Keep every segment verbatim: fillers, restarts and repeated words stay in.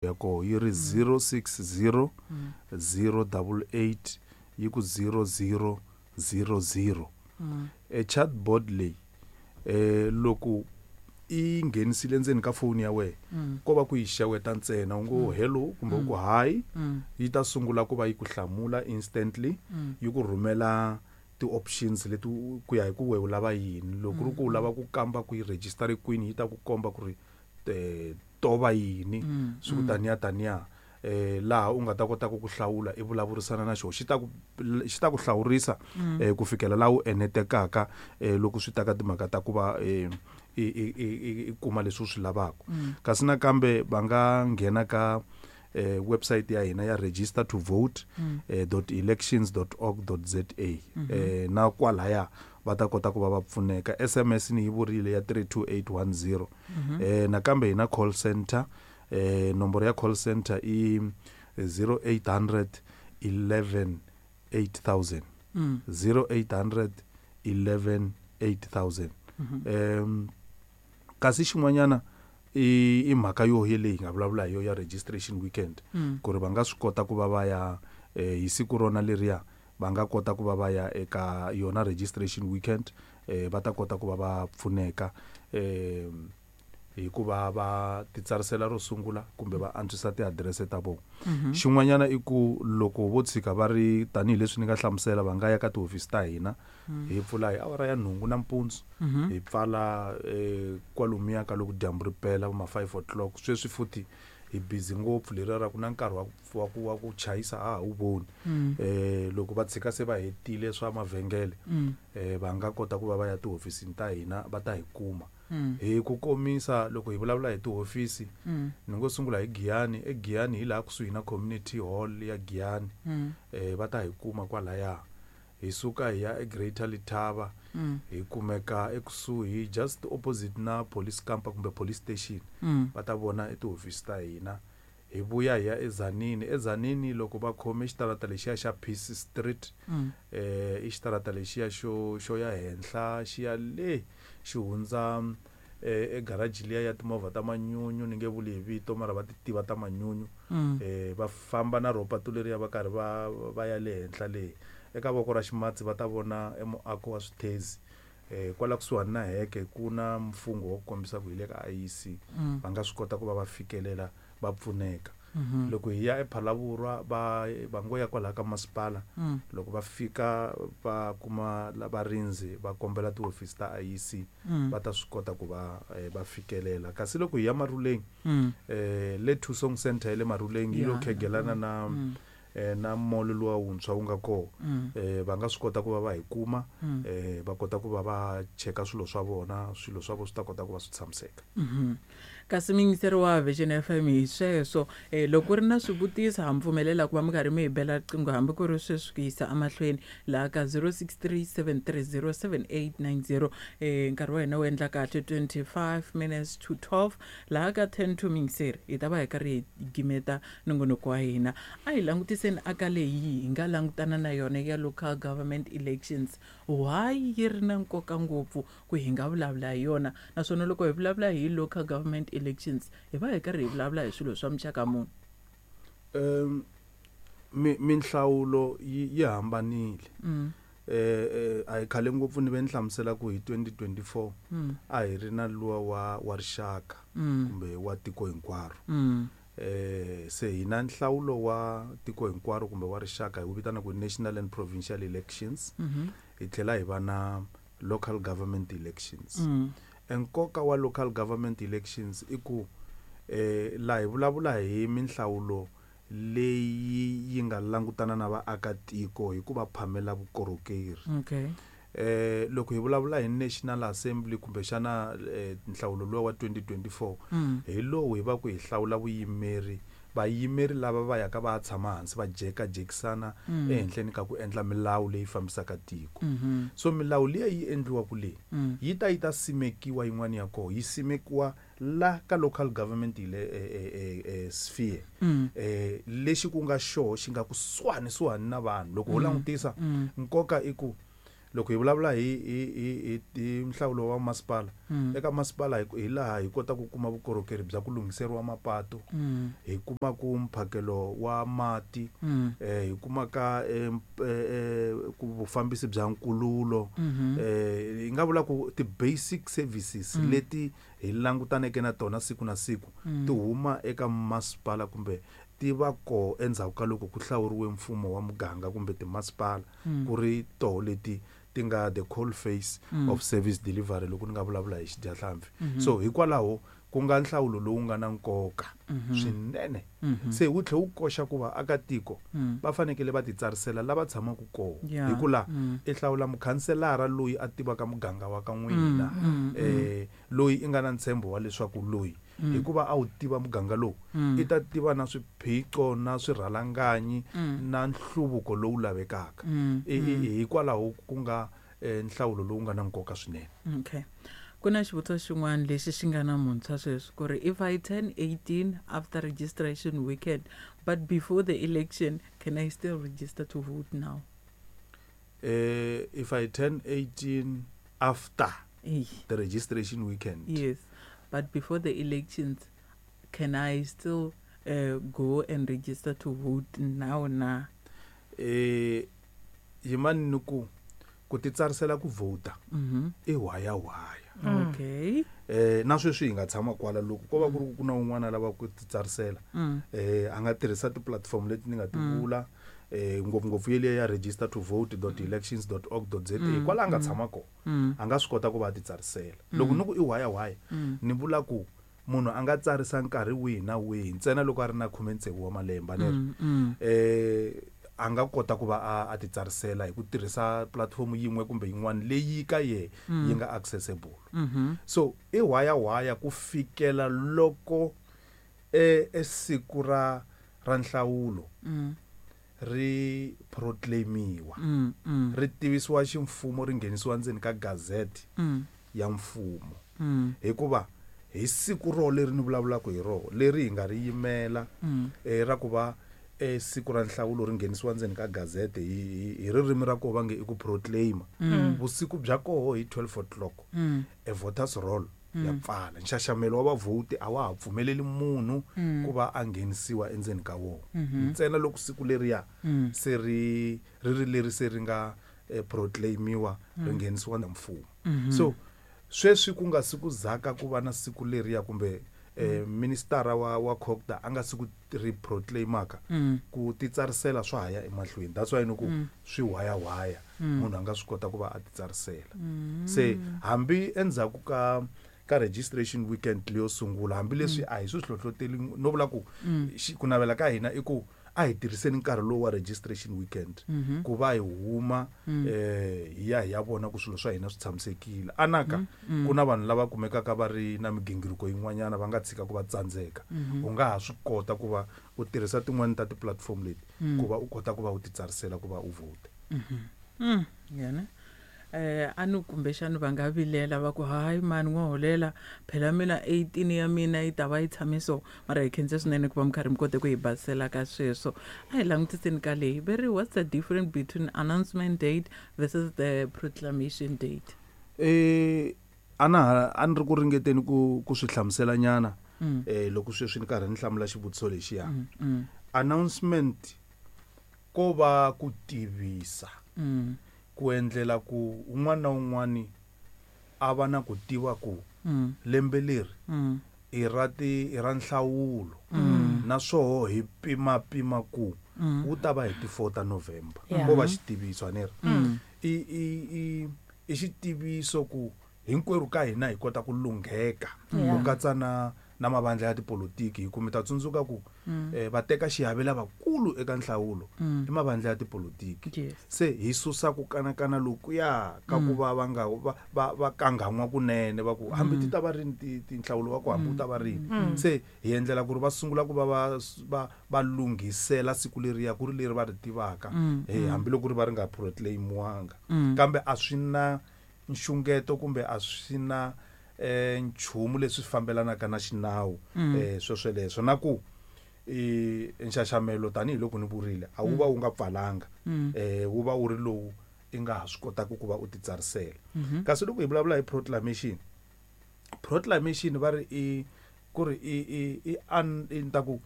Ya koho yi ri zero six zero zero double eight yi ku zero zero zero zero. E chatbot leyi eh loko i nghenisile ndzeni ka foni ya wena, ko va ku yi xeweta ntsena, u ngo hello kumbe u ku hi, yi ta sungula ku va yi ku hlamula instantly, yi ku rhumela ti-options leti ku ya hi ku we u lava yini. Loko ku ri ku u lava ku kamba ku yi register kwini, yi ta ku komba ku ri eh to va yini, swi ku taniya taniya, eh laha u nga ta kota ku ku hlawula, i vulavurisana na xona, xi ta ku xi ta ku hlawurisa eh ku fikela laha u enetekaka eh loko swi ta ka timhaka ta ku va eh i i i kuma leswi u swi lavaka. Kasi nakambe va nga nghena ka eh website ya hina ya register to vote eh, dot elections dot org dot za, eh na kwalaya va ta kota ku va va pfuneka. S M S ni yi vurile ya three two eight one zero. eh nakambe hi na call center, eh nomboro ya call center i zero eight hundred eleven eight thousand, zero eight hundred eleven eight thousand. um kasi xin'wanyana i i mhaka yo leyi hi nga vulavula hi yo ya registration weekend, ku ri va nga swi kota ku va va ya eh, hi siku rona leriya, va nga kota ku va va ya eka yona registration weekend, eh, va ta kota ku va va pfuneka eh hikuva va titsarisela ro sungula kumbe va antswisa tiadirese ta vona. Xin'wanyana i ku loko vo tshika va ri tanihileswi ni nga hlamusela, va nga ya ka tihofisi ta hina. Hi pfula hi awara ya nhungu nampundzu, hi pfala eh, kwalomuya ka loko dyambu ri pela, va ma five o'clock. Sweswi futhi hi busy ngopfu, leriya ra ku na nkarhi wa ku wa ku wa ku chayisa a ha wu voni. eh loko va tshika se va hetile swa mavhengele, eh va nga kota ku va va ya tihofisini ta hina, va ta hi kuma. Hi ku komisa, loko hi vulavula hi tihofisi, ni ngo sungula hi Giyani. EGiyani hi laha kusuhi na community hall ya Giyani, eh va ta hi kuma kwalaya. Hi suka hi ya eGreater Letaba, hi kumeka ekusuhi, just opposite na police camp kumbe police station, va ta vona etihofisi ta hina. Hi vuya hi ya eTzaneen. ETzaneen loko va khome xitarata lexiya xa Peace Street, eh i xitarata lexiya xo xo ya henhla, xi ya le xi hundza eh egaraji liya ya timovha ta manyunyu, ni nge vuli hi vito mara va ti tiva ta manyunyu. eh va famba na ro patu leriya, va karhi va va ya le henhla le, eka voko ra ximatsi va ta vona emuako wa swithezi. eh kwala kusuhani na heke ku na mfungho wa ku kombisa ku hi le ka I E C, va nga swi kota ku va va fikelela, va pfuneka. Loko hi ya ePhalavurwa, va va ngo ya kwalaha ka masipala, loko va fika va kuma la varindzi, va kombela tihofisi ta I E C, va ta swi kota ku va eh, va fikelela. Kasi loko hi ya Maruleng, eh le Thusong Center ya le Maruleng yi lo Ya, khegelana na eh, na mall luwa wuntshwa wu nga koho, eh va nga swi kota ku va va hi kuma, eh va kota ku va va cheka swilo swa vona, swilo swa vona swi ta kota ku va swi tshamiseka. Kasi muyingiseri wa Vision F M, hi sweswo eh, loko ku ri na swivutiso, ha mi pfumelela ku va mi karhi mi hi bela riqingho hambi ku ri sweswi ku yisa emahlweni laha ka zero six three seven three zero seven eight nine zero. eh, nkarhi wa hina wu endla kahle twenty-five minutes to twelve, laha ka ten to, muyingiseri, hi ta va hi karhi hi gimeta nongonoko wa hina. A hi langutiseni aka leyi hi nga langutana na yona ya local government elections. Why yi ri na nkoka ngopfu ku hi nga vulavula hi yona? Naswona loko hi vulavula hi local government elections, hi va hi karhi hi vulavula hi swilo swa muxaka muni? um mi minhlawulo yi yi hambanile. mm. eh eh, a hi khale ngopfu ni ve ni hlamusela ku hi twenty twenty-four Mm. a hi ri na luwa wa wa rixaka Mm. kumbe wa tiko hinkwaro. Mm. eh se hina nhlawulo wa tiko hinkwaro kumbe wa rixaka hi wu vitana ku national and provincial elections, Mhm. hi tlhela hi va na local government elections. Mm. Enkoka wa local government elections i ku eh laha hi vulavula hi minhlawulo leyi yi nga langutana na vaakatiko hi ku va phamela vukorhokeri. Okay eh loko hi vulavula hi National Assembly kumbexana eh, nhlawulo luwa wa twenty twenty-four, Mm. hi lowu hi va ku hi hlawula vuyimeri, vayimeri lava va yaka va ya tshama hansi va jekajekisana Mm. ehenhleni ka ku endla milawu leyi fambisaka tiko. Mhm. So milawu liya yi endliwaka leyi Mm. yi ta yi ta simekiwa, yin'wana ya koho yi simekiwa la ka local government ile eh, eh, eh, eh, sphere, Mm. eh lexi ku nga xoho xi nga kusuhani suhani na vanhu. Loko ho langutisa, Mm. nkoka i ku Loko hi vulavula hi hi hi hi nhlawulo wa masipala, eka masipala hi laha hi kota ku kuma vukorhokeri bya ku lunghiseriwa mapato, hi kuma ku mphakelo wa mati, eh hi kuma ka ku vufambisi bya nkululo, eh hi nga vula ku ti basic services leti hi langutaneke na tona siku na siku ti huma eka masipala kumbe ti va ko endzhaku ka loko ku hlawuriwe mfumo wa muganga kumbe timasipala ku ri toho leti ti nga the cold face mm. of service delivery loko ni nga vulavula hi xidyahlampfi. Mm-hmm. So hikwalaho ku nga nhlawulo lowu nga na nkoka mm-hmm. swinene. Mm-hmm. Se wu tlhe wu koxa ku va aka tiko mm. va fanekele va titsarisela lava tshamaka kona, yeah. hikuva mm. i hlawula mukhanselara loyi a tivaka muganga wa ka n'wina, mm. eh loyi i nga na ntshembo wa leswaku loyi mm. hikuva a wu tiva muganga lowu mm. i ta tiva na swiphiqo na swirhalanganyi mm. na nhluvuko lowu lavekaka. Mm. Hikwalaho ku nga nhlawulo lowu nga na nkoka swinene. Okay. Ku na xivutiso xin'wana lexi xi nga na muntshwa sweswi ku ri if I turn eighteen after registration weekend but before the election, can I still register to vote now? Uh, if I turn eighteen after Eey. the registration weekend. Yes. But before the elections, can I still uh, go and register to vote now na? Eh, yimani ni ku ku titsarisela ku vhota i waya waya. Okay. Eh na sweswi hi nga tshama kwala loko ko va ku ri ku na un'wana lava ku titsarisela, eh a nga tirhisa ti-platform leti ni nga ti vula, eh ngopfungopfu yeliya ya register to vote dot elections dot org dot za, kwala a nga tshama kona a nga swi kota ku va a titsarisela. Loko ni ku i waya waya ni vula ku munhu a nga tsarisa nkarhi wihi na wihi ntsena loko a ri na khume tsevu wa malembe ni ri eh a nga kota ku va a titsarisela hi ku tirhisa platform yin'we kumbe yin'wana leyi ka ye yi nga accessible. So i waya waya ku fikela loko e siku ra ra nhlawulo ri proclaimiwa, ri tivisiwa ximfumo, ri nghenisiwa ndzeni ka gazette ya mfumo. Hikuva hi siku ro leri ni vulavulaka hi roho leri hi nga ri yimela eh ra ku va e siku ra nhlawulo ri nghenisiwa ndzeni ka gazette hi hi ririmi ra ko va nge i ku proclaim, vusiku bya koho hi twelve o'clock e voters roll ya pfala. Nxaxamelo wa vavhoti a wa ha pfumeleli munhu ku va a nghenisiwa endzeni ka wona, ntsena loko siku leriya se ri ri ri leri se ri nga proclaimiwa ri nghenisiwa na mfumo. So sweswi ku nga siku zaka ku va na siku leriya kumbe eh minister wa wa COGTA a nga siku ri proclaimaka ku titsarisela swa haya emahlweni. That's why ni ku swi waya waya munhu a nga swi kota ku va a titsarisela. Se hambi endzhaku ka ka registration weekend leyo sungula, hambileswi a hi swi hlohloteli no vula ku ku navela ka hina i ku a hi tirhiseni nkarhi lowu wa registration weekend ku va hi huma eh hi ya hi ya vona ku swilo swa hina swi tshamisekile. Anaka ku na vanhu lava kumekaka va ri na migingiriko yin'wanyana va nga tshika ku va tsandzeka, u nga ha swi kota ku va u tirhisa tin'wani ta ti-platform leti ku va u kota ku va u titsarisela ku va u vote. Yena eh anu kumbexana va nga vilela va ku hayi mani n'wa holela phela mina eighteen ya mina yi ta va yi tshame so, mara hi khense swinene ku va mi karhi mi kote ku hi basela ka sweswo. A hi langutiseni ka leyi veri what's the difference between announcement date versus the proclamation date? Eh ana a ni ri ku ringeteni ku ku swi hlamusela nyana eh loko sweswi ni karhi ni hlamula xivutiso lexiya. Announcement ko va ku tivisa ku endlela ku un'wana na un'wana a va na ku tiva ku lembe leri i ra ti i ra nhlawulo, naswoho hi pima pima ku wu ta va hi ti four ta November. Ko va xitiviso a ni ri i i i i xitiviso ku hinkwerhu ka hina hi kota ku lungheka ku katsa na na mavandla ya tipolotiki, hi ku mi ta tsundzuka ku va teka xiave lavakulu eka nhlawulo i mavandla ya tipolotiki. Se hi susa ku kanakana lokuya ka ku va va nga va va kangan'wa kunene va ku hambi ti ta va rini tinhlawulo wa ku hambi u ta va rini. Se hi endlela ku ri va sungula ku va va va va lunghisela siku leriya ku ri leri va ri tivaka, hambiloko ri va ri nga proclaimiwanga, kambe a swi na nxungeto kumbe a swi na eh nchumu leswi fambelanaka na xinawu eh sweswo leswo. Na ku i nxaxamelo tanihiloko ni vurile a wu va wu nga pfalanga, eh wu va wu ri lowu i nga ha swi kotaka ku va u titsarisela. Kasi loko hi vulavula hi proclamation, proclamation va ri i ku ri i i i an i ni ta ku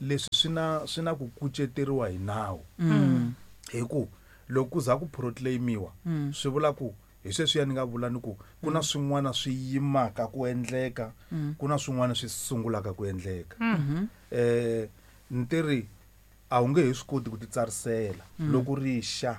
leswi swi na swi na ku kuceteriwa hi nawu. Hi ku loko ku za ku proclaimiwa swi vula ku hi sweswiya ni nga vula ni ku ku na swin'wana swi yimaka ku endleka, ku na swin'wana swi sungulaka ku endleka. Eh ni tiri a wu nge he swi koti ku titsarisela loko ri xa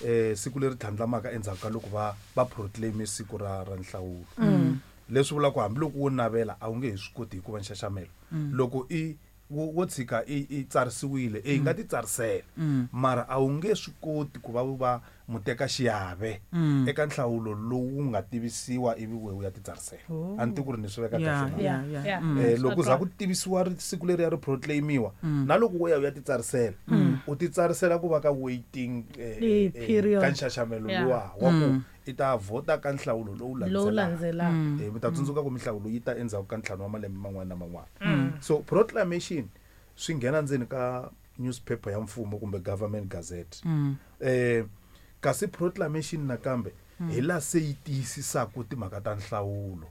eh siku leri tlhandlamaka endzhaku ka loko va va proclaim siku ra ra nhlawulo. Leswi vulaka ku hambiloko wo navela a wu nge he swi koti hikuva nxaxamelo loko i wo wo tshika i i tsarisiwile e yi nga titsarisela mara a wu nge swi koti ku va u va mutekaxiave eka nhlawulo lowu nga tivisiwa ivi we u ya titsarisela. A ni tivi ku ri ni swi veka Yeah, kahle na. yeah, yeah. Yeah. Mm. Eh loko za ku tivisiwa ri siku leri ya ri proclaimiwa na loko wo ya u ya titsarisela u titsarisela ku va ka waiting eh, Leyi eh, period. ka nxaxamelo Yeah. luwa wa ku i ta vhota ka nhlawulo lowu lowu landzelaka. landzelaka. Eh, mi ta tsundzuka ku minhlawulo yi ta endzhaku ka ntlhanu wa malembe man'wana na man'wana. So proclamation swi nghena ndzeni ka newspaper ya mfumo kumbe government gazette. Eh kasi proclamation nakambe hi laha se yi tiyisisaka timhaka ta nhlawulo.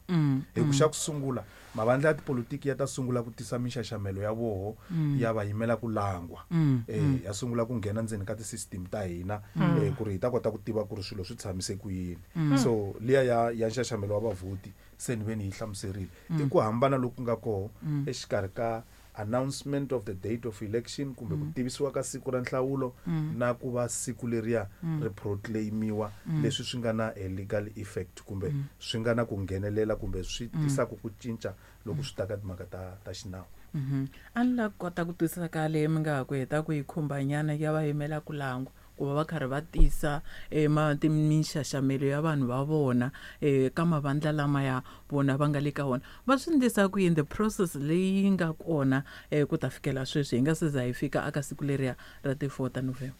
Hi ku xa ku sungula mavandla ya tipolitiki ya ta sungula ku tisa minxaxamelo ya voho ya va yimela ku langwa. Eh ya sungula ku nghena ndzeni ka ti-system ta hina eh ku ri hi ta kota ku tiva ku ri swilo swi tshamise ku yini. So liya ya ya nxaxamelo wa vavhoti se ni ve ni yi hlamuserile. I ku hambana loku nga koho exikarhi ka announcement of the date of election kumbe ku tivisiwa ka siku ra nhlawulo na ku va siku leriya ri proclaimiwa leswi swi nga na a legal effect kumbe swi nga na ku nghenelela kumbe swi tisaka ku cinca loko swi ta ka timhaka ta ta xinawu. Mhm. A ni lava ku kota ku twisisa ka leyi mi nga ha ku heta ku yi khumbanyana ya va yimela ku langwa ku va va karhi va tisa eh, ma ti minxaxamelo ya vanhu va vona eh, ka mavandla lama ya vona va nga le ka wona. Va swi endlisa ku yini the process leyi nga kona eh, ku ta fikela sweswi hi nga se za hi fika aka siku leriya ra ti-four ta November.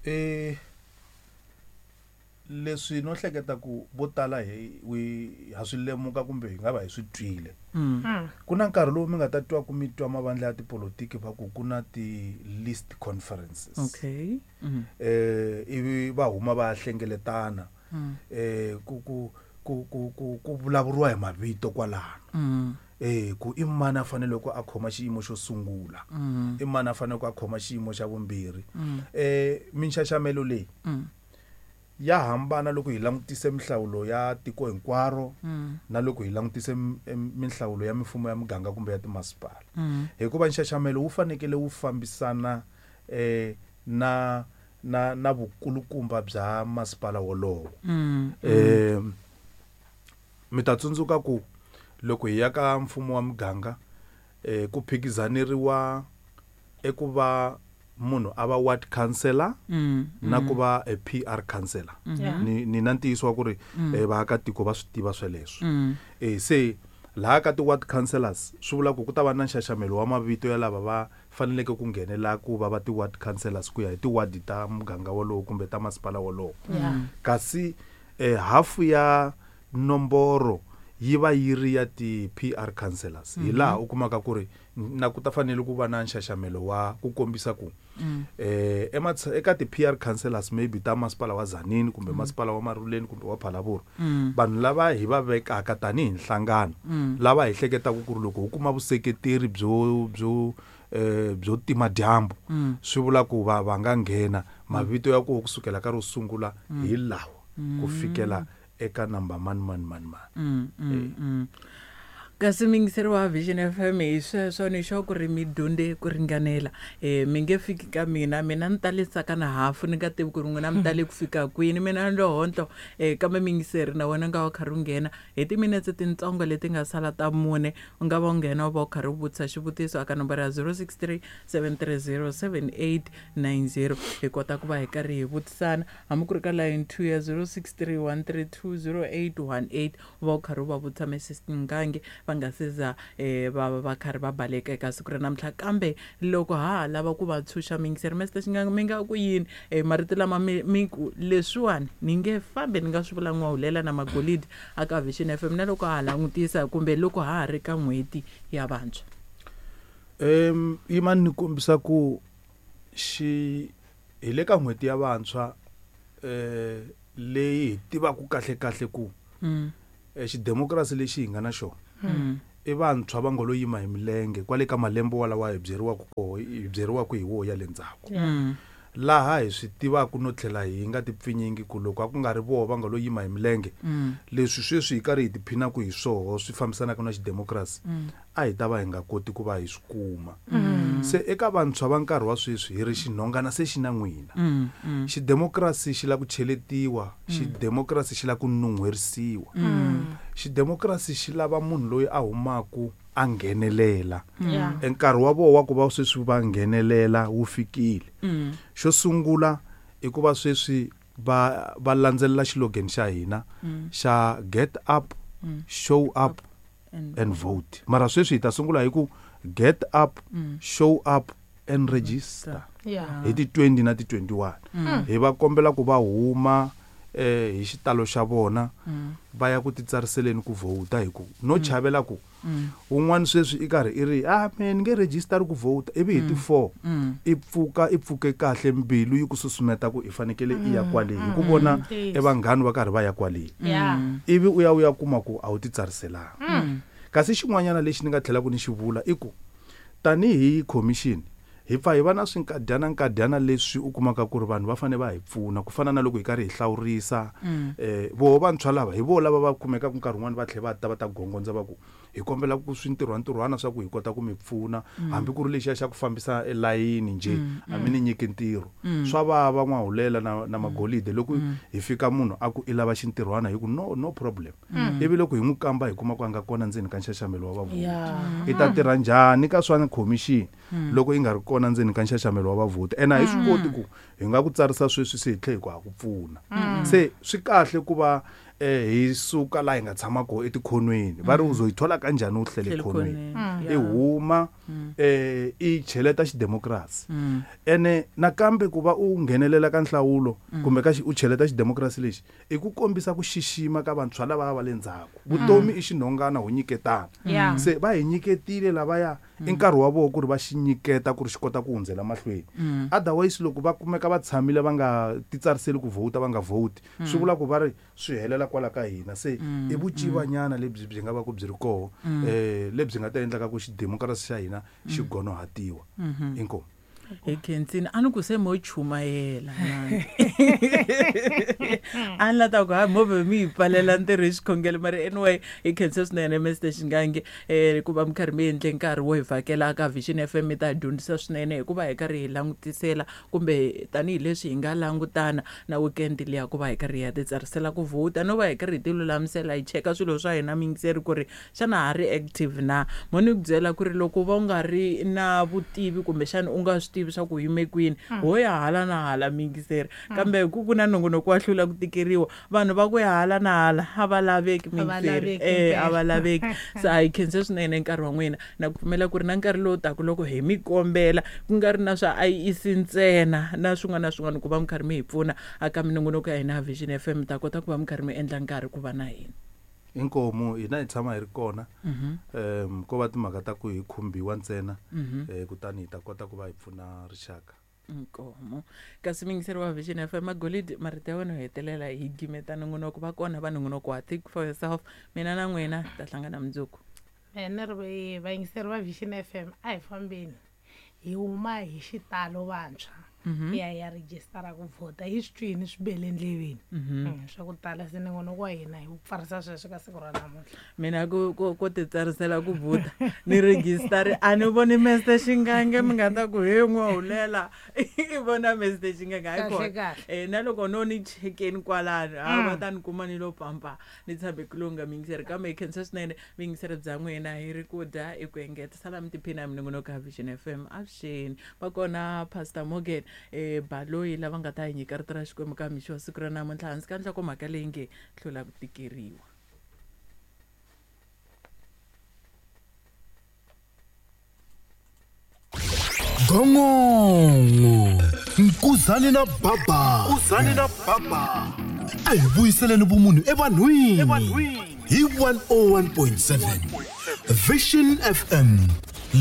Eh leswi no hleketa ku vo tala hi wi ha swi lemuka kumbe hi nga va hi swi twile. Ku na nkarhi lowu mi nga ta twa ku mi twa mavandla ya tipolitiki va ku ku na ti-list conferences. Okay. Mm. Eh ivi va huma va ya hlengeletana. Eh ku ku ku ku ku ku vulavuriwa hi mavito kwalano. Mm. Eh ku i mani a fanele ku a khoma xiyimo xo sungula. I mani a fanele ku a khoma xiyimo xa vumbirhi. Eh minxaxamelo leyi Mm. ya hambana loko hi langutise minhlawulo ya tiko hinkwaro na loko hi langutise m- em- minhlawulo ya mifumo ya muganga kumbe ya timasipala. Hikuva nxaxamelo wu fanekele wu fambisana eh na na na vukulukumba bya masipala wolowo. Mm. Eh mi ta tsundzuka ku loko hi ya ka mfumo wa muganga eh ku phikizaneriwa eku va munhu a va ward councillor Mm. na ku va a P R councillor. Yeah. Ni ni na ntiyiso wa ku ri eh, vaakatiko va swi tiva sweleswo. Mm. Eh se laha ka ti-ward councillors swi vula ku ku ta va na nxaxamelo wa mavito ya lava va faneleke ku nghenela ku va va ti-ward councillors ku ya hi ti-ward ta muganga wolowo kumbe ta masipala wolowo. Yeah. Kasi eh, hafu ya nomboro yi va yi ri ya ti-P R councillors. Hi laha u kumaka ku ri na ku ta fanele ku va na nxaxamelo wa ku kombisa ku eh ematsha-, eka ti-P R councillors maybe ta masipala wa Tzaneen kumbe masipala wa Maruleni kumbe wa Phalaborwa, vanhu lava hi va vekaka tanihi nhlangano lava hi hleketaka ku ri loko ho kuma vuseketeri byo byo eh byo tima dyambu swi vula ku va va nga nghena mavito ya koho kusukela ka ro sungula hi lawa ku fikela eka number mani mani mani mani. Mm, mm, mm. Kasi miyingiseri wa Vision F M hi sweswo ni sure ku ri mi dyondze ku ringanela. Eh mi nge fiki ka mina, mina ni ta le tsaka na hafu ni nga tivi ku ri n'wina mi ta le ku fika kwini, mina ni lo hontlo. Eh kambe miyingiseri na wena u nga va u karhi u nghena hi timinetse tintsongo leti nga sala ta mune, u nga va u nghena u va u karhi u vutisa xivutiso aka nomboro ya zero six three seven three zero seven eight nine zero. Hi kota ku va hi karhi hi vutisana hambi ku ri ka line two ya zero six three one three two zero eight one eight, u va u karhi u va vutisa Missus Ngange va nga se za, eh, va va va karhi va baleka eka siku ra namuntlha. Kambe loko ha ha lava ku va tshunxa miyingiseri, Mister Shingange, mi nga ku yini? Eh, marito lama mi, mi ku leswiwani ni nge fambi ni nga swi vula n'wahulela na magolidi aka Vision F M na loko ha ha langutisa kumbe loko ha ha ri ka n'hweti ya vantshwa. Em, yimani ni kombisa ku xi hi le ka n'hweti ya vantshwa, eh leyi hi tivaka kahle kahle ku mm. eh xidemokirasi lexi hi nga na xona mm. i vantshwa va ngo lo yima hi milenge kwale ka malembe walawa hi byeriwaka koho hi byeriwaka hi wo ya le ndzhaku mm. laha hi swi tivaka no tlhela hi nga tipfinyingi ku loko a ku nga ri voho va nga lo yima hi milenge mm. leswi sweswi hi karhi hi tiphinaka hi swoho swi fambisanaka na xidemokirasi mm. a hi ta va hi nga koti ku va hi swi kuma mm. se eka vantshwa va nkarhi wa sweswi hi ri xinhongana se xi na n'wina mm. mm. xidemokirasi xi lava ku cheletiwa xidemokirasi xi lava ku nun'hwerisiwa mm. xidemokirasi xi lava munhu loyi a humaku a nghenelela Yeah. nkarhi wa voho wa ku va sweswi va nghenelela wu fikile mm. xo sungula i ku va sweswi va va landzelela xilogeni xa hina Mm. xa get up Mm. show up and, and vote mara sweswi hi ta sungula hi ku get up mm. show up and register Yeah. hi ti twenty na ti twenty-one Mm. hi va kombela ku va huma eh hi xitalo xa vona Mm. va ya ku titsariseleni ku vhota hi ku no chavela ku Mm. un'wana sweswi i karhi i ri ah me ni nge rejistari ku vhota ivi hi ti four Mm. i pfuka i pfuke kahle mbilu yi ku susumeta ku i fanekele i ya kwale hi ku vona Ntiyiso. e vanghani va karhi va ya kwale Yeah. ivi u ya u ya kuma ku a wu titsariselanga Mm. kasi xin'wanyana lexi ni nga tlhelaka ni xi vula i ku tanihi commission hi pfa hi va na swinkadyana nkadyana leswi u kumaka ku ri vanhu va fanele va hi pfuna ku fana na loko hi karhi hi hlawurisa Mm. eh voho vantshwa lava hi voho lava va kumekaka nkarhi wun'wani va tlhela va ta va ta gongondza va ku hi kombela ku swintirhwantirhwana swa ku hi kota ku mi pfuna hambi ku ri lexiya xa ku fambisa elayini njhe a mi ni nyiki ntirho swa vava n'wahulela na, na magolide loko hi fika munhu a ku i lava xintirhwana hi ku no no problem ivi loko hi n'wi kamba hi kuma ku a nga kona ndzeni ka nxaxamelo wa vavhoti Yeah. i ta tirha njhani ka swa khomixini loko yi nga ri kona ndzeni ka nxaxamelo wa vavhoti ene a hi swi koti ku hi nga ku tsarisa sweswi se hi tlhe hi ku ha ku pfuna se swi kahle ku va eh, hi suka laha hi nga tshama kona etikhonweni va ri u zo yi thola kanjhani u hlele Hlele khonweni khonweni, i yeah. huma eh i cheleta xidemokirasi Mm. ene nakambe ku va u nghenelela ka nhlawulo kumbe ka xi- u cheleta xidemokirasi lexi i ku kombisa ku xixima ka vantshwa lava va le ndzhaku vutomi i xinhongana ho nyiketana Yeah. se va hi nyiketile lavaya i nkarhi wa vona ku ri va xi nyiketa ku ri xi kota ku hundzela mahlweni otherwise loko va kumeka va tshamile va nga titsariseli ku vhota va nga vhoti swi vula ku va ri swi helela kwala ka hina se i vucivanyana lebyi byi nga va ku byi ri koho um lebyi nga ta endlaka ku xidemokirasi xa hina xi gonohatiwa inkomu hi khensini a ni ku se mo chumayela nani. a ni la ta ku hayi movha mi yi pfalela ntirho hi xikhongelo mara anyway hi khense swinene mr xingange um ku va mi karhi mi endle nkarhi wo hi vhakela ka Vision F M mi ta hi dyondzisa swinene hikuva hi karhi hi langutisela kumbe tanihileswi hi nga langutana na weekend liya ku va hi karhi hi ya titsarisela ku vhota no va hi karhi hi ti lulamisela hi cheka swilo swa hina miyingiseri ku ri xana ha ri active na mo ni ku byela ku ri loko va u nga ri na vutivi kumbexana u nga swi tivi swa ku yime kwini ho ya hala na hala miyingiseri kambe ku ku na nongonoko wa hlula ku tikeriwa vanhu va ku ya hala na hala a va laveki A va miyingiseri laveki eh a impela. va laveki se a hi khense swinene nkarhi wa n'wina na ku pfumela ku ri na nkarhi lowu taka loko hi mi kombela ku nga ri na swa I E C ntsena na swin'wana na swin'wana ku va mi karhi mi hi pfuna aka minongonoko ya hina ya Vision F M mi ta kota ku va mi karhi mi endla nkarhi ku va na hina inkomu hina hi tshama hi ri kona um ko va timhaka ta ku hi khumbiwa ntsena eh, kutani hi ta kota ku va hi pfuna rixaka nkomo kasi miyingiseri wa Vision F M magolidi marito ya wena yo hetelela hi gimeta nongonoko va kona va nongonoko wa think for yourself mina na n'wina hi ta hlangana mundzuku Mehe ni ri vayingiseri va Vision F M a hi fambeni hi huma hi xitalo vantshwa hi ya hi ya rejistara ku vhota hi swi twini swi bele ndleveni Mm, swa ku tala se nongonoko wa hina hi wu pfarisa sweswo ka siku ra namuntlha mina ku ku ku titsarisela ku vhota ni registari a ni voni Mister Xingange mi nga ta ku he n'wahulela i vona Mister Xingange hayi Kahle, kona kahle. eh na loko no ni chekeni kwalano ha va ta ni kuma ni lo pampa ni tshame ku lunga miyingiseri kambe hi khensa swinene vuyingiseri bya n'wina hi ri ku dya i ku engeta sala mi tiphina hi minongonoko ya Vision F M avuxeni va kona Pastor Morgan eh Baloyi lava nga ta hi nyika rito ra Xikwembu ka mixo wa siku ra namuntlha hansi ka nhlokomhaka leyi nge hlula ku tikeriwa Gongongo Nkuzani na Baba Nkuzani na Baba a hi vuyiseleni vumunhu evanhwini hi one oh one point seven Vision F M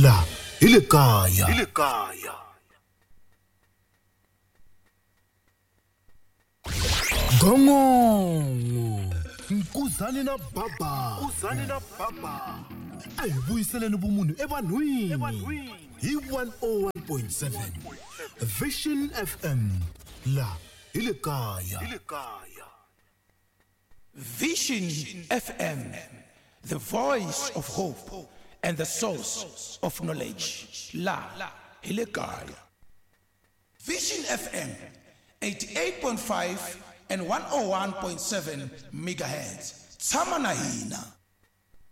la hi le kaya hi le kaya. Gongongo Nkuzani na Baba, Nkuzani na Baba, a hi vuyiseleni vumunhu evanhwini hi one oh one point seven Vision F M, la hi le kaya. Vision F M, the voice of hope and the source of knowledge. La hi le kaya. Vision F M, eighty-eight point five and one oh one point seven megahertz. Tshama na hina.